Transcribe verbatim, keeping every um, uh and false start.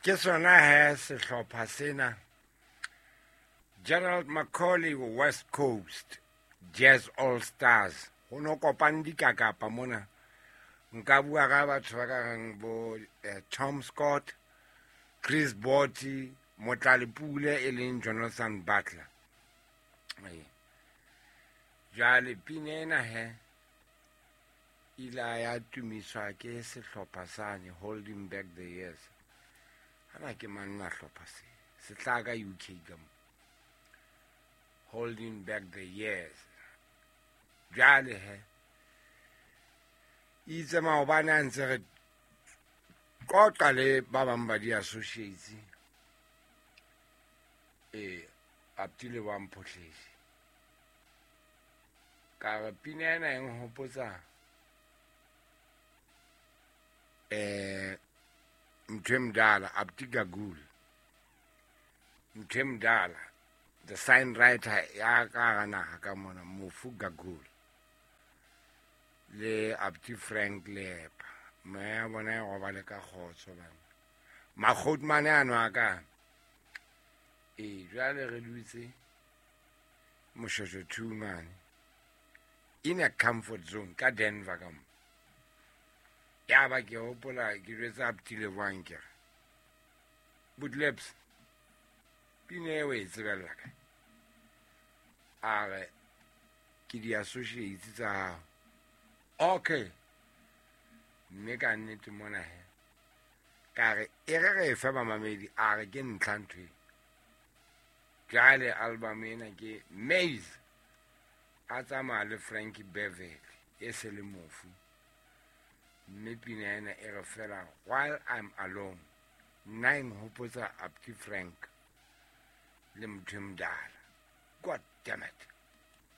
Ke sona he sehlopha sena, Gerald McCauley West Coast Jazz All Stars. Ho no kopane dikakapa mona. Nka bua ka batho ba ka reng bo eh, Tom Scott, Chris Botti, Motlalepule e leng Jonathan Butler. Ee. Jwale pina ena he ile ya tumiswa ke sehlopha sane, Holding Back the Years. Hana ke manna hlopha se se tla ka U K ka mo, Holding Back the Years. Jwale he itse maobane a ntse re qoqa le ba bang ba di-associates, eh aptile wa mphotlhesi, ka re pina ena e nhopotsa eh ntho e mdala, Abdi Gagul, ntho e mdala, the sign writer ya ka hara naha ka mona, mofu Gagul le Abdi Frank Lepa. Moya ya bona e robale ka kgotso bana makgotmane ano a ka. Ee, jwale re dutse Moshweshwe two mane in a comfort zone ka Denver ka mo. Ya ba ke hopola ke jwetsa Abdi Leboang, ke re, "Bootleps, pina eo e tsebella kae?" A re ke di-associates tsa hao. Okay, mme ka nnete mona he ka re e re re fe bamamedi. A re ke ntlha ntho e. Jwale album ena ke Maze a tsamaya le Frankie Beverly e se le mofu, mme pina ena e re fela "While I'm Alone". Nna e nhopotsa Abdi Frank le motho e modala. God damn it.